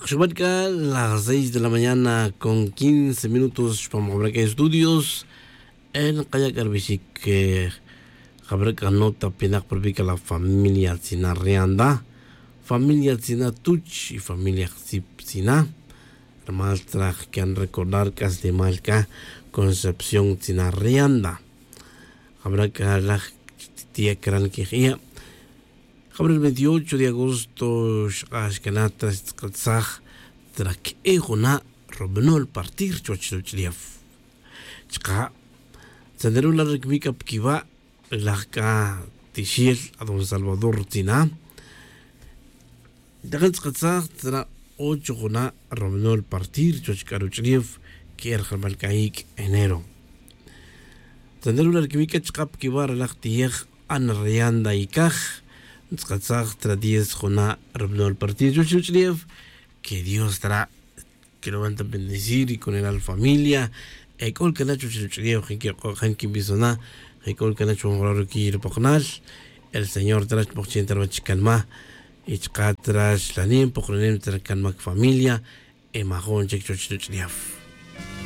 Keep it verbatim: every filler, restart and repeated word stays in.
Xub'an k'a las seis de la mañana con quince minutos xpam jab'ra' k'a estudios. En qaya' k'a rib'ixic jab'ra' k'a nota pinak pa rub'i' k'a la familia tzina rianda, familia tzina tuch y familia jtzip tzina. Rimal traj can recordar k'aslimal k'a concepción tzina rianda. Jab'ra' k'a laj tiya' caran quejiya'. Jab'ra' el veintiocho de agosto xk'ax cana tra xtz'atsaj tra que'e juna' rub'anol partir chuwach ruch'ulef. Chka' tzanteru la' ricmic c'a pa quiwa' laj c'a tixel a don salvador tzina. Takan tz'atsaj tra ocho juna' rub'anol partir chuwach c'a ruch'ulef que'e rajrimal c'a ic' enero. Tzanteru la' ricmic c'a chka' pa quiwa' ralaj tiyej ana rianda y caj ntz'atsaj tra diez juna' rub'anol partir chuwach ruch'ulef. Que dios tra' que lo van ta bendecir y con el al familia. Ec'ol cana chuwach ruch'ulef je' quik'o' je' quibisona. Ec'ol cana chuwach jun jara' ruquiy rupokonal. El señor tra' chbojchen ta ruwach canma y chka' tra' xlanem pokonem tra canmac familia. Y majun chic chuwach ruch'ulef.